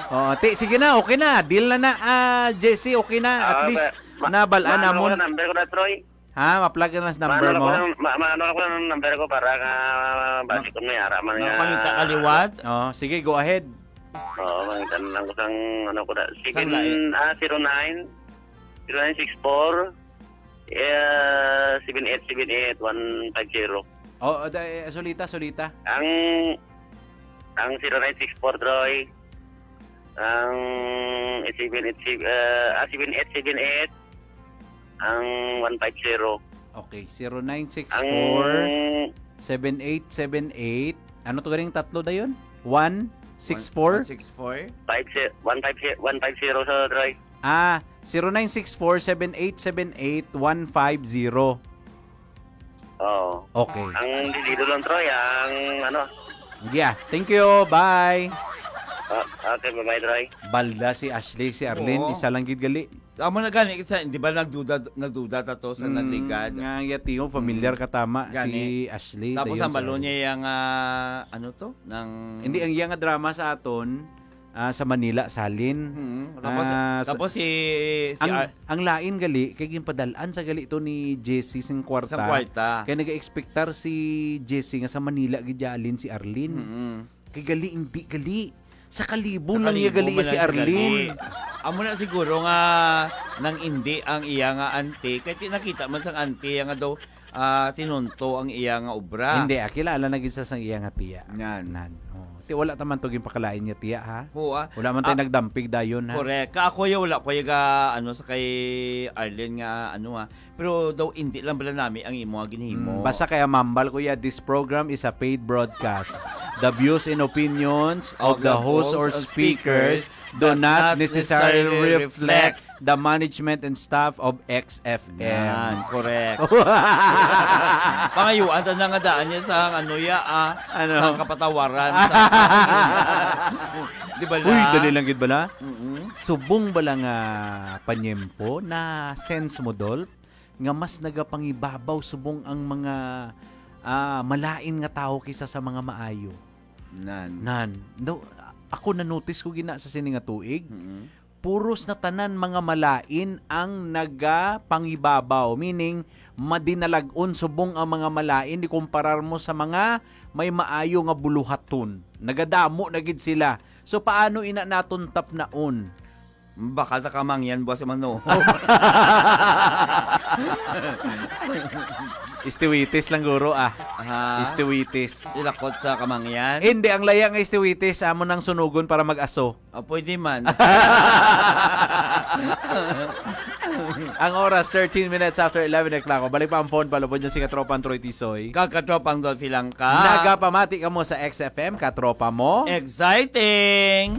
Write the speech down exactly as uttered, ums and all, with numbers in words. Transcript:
Oh, ti, sige na, okay na. Deal na na, ah, Jesse, okay na. At Ah, least, ma-, ma-, nabal-an maano namon. Ako na number ko na, Troy? Ha, ma-plug na sa number Maano mo? Ako na, ma-, maano ako na number ko para nga basi Ma-, ko may ara man nga. Makapangita ka liwat? Oh, sige, go ahead. Oo, mangita na lang ko sang ano ko na. Sang lain. Seven, ah, zero nine, zero nine six four, eh, seven eight seven eight one five zero. Oh, da-, eh, sulita, sulita. Ang, ang zero nine six four, Troy. Ang seven eight seven, eh, ah, seven eight seven eight. Ang one five zero. Okay, zero nine six four, Ang seven eight seven eight. Ano to ganing tatlo dayon? One six four? One six four? Five ze-, one five ze-, one five zero sa Troy. Ah, zero nine six four, seven eight seven eight, one five zero. Oo. Okay. Ang desido lang, Troy, ang ano. Yeah, thank you. Bye. Ah, okay, bye-bye, Troy. Balda si Ashley, si Arlene, Oo. isa lang gid gali. Amo na gani, isa, di ba nagduda, nagduda ta to sa Mm, nagligad? Nga, yati mo, familiar Mm. ka tama, Gani. si Ashley, Tapos dayon ang si balo Arlene. niya yung, ah, ano to? Nang Hindi, ang iya nga drama sa aton, ah, sa Manila, Salin. Mm. Tapos, Ah, sa tapos si, si ang, Ar- ang lain gali, kay ginpadal-an sa gali to ni Jessie sing kwarta. Sang kwarta. Kay nag-expectar si Jessie nga sa Manila gid alin si Arlene. Mm. Kay gali, hindi gali. Sa Kalibo Sa lang niya Kalibo gali man si lang siya Arlene. gali. Amo na siguro nga nang hindi ang iya nga auntie. Kay ti-, nakita man sang auntie nga daw, ah, tinunto ang iya nga obra. Hindi, ah, kilala na gid sa sang iya nga tiya. Nan. Nan. Oh. Ti wala ta man to ginpakalain niya tiya, ha? Oo, ah. Wala man tayo Ah, nagdampig dayon, ha? Correct. Ka ako ya, wala ko ya ga, ano, sa kay Arlene nga, ano, ha. Pero daw, hindi lang bala nami ang imo nga ginhimo. Mm, basta kaya mambal ko ya, this program is a paid broadcast. The views and opinions of the host or speakers do not necessarily reflect the management and staff of X F M. Yan, correct. Pangayuan ta na nga daan niya sa ano ya, ah, Ano? sa kapatawaran. Sa, di ba Uy, la? Dali lang gid bala. Mm-mm. Subong bala nga panyempo na sense mo, Dol, nga mas nagapangibabaw subong ang mga, ah, malain nga tawo kaysa sa mga maayo. Nan. Nan. No, ako na-notice ko gina sa sini nga tuig. Mm-mm. Puros na tanan mga malain ang nagapangibabaw, meaning madinalag-on subong ang mga malain di kumparar mo sa mga may maayo nga buluhaton. Nagadamo na gid sila. So paano ina naton tapnaon? Baka sa kamangyan buwas si Manong. Istiwitis lang guro, ah. Ha? Istiwitis. Ilakot sa kamangyan? Hindi, ang laya nga istiwitis, amo nang sunugon para mag-aso. Ah, pwede man. Ang oras, thirteen minutes after eleven o'clock. Balik pa ang phone, palubod niyo si Katropang Troy Tisoy. Kag Katropang Dolphy Langka. Nagapamati kamo sa X F M, katropa mo. Exciting!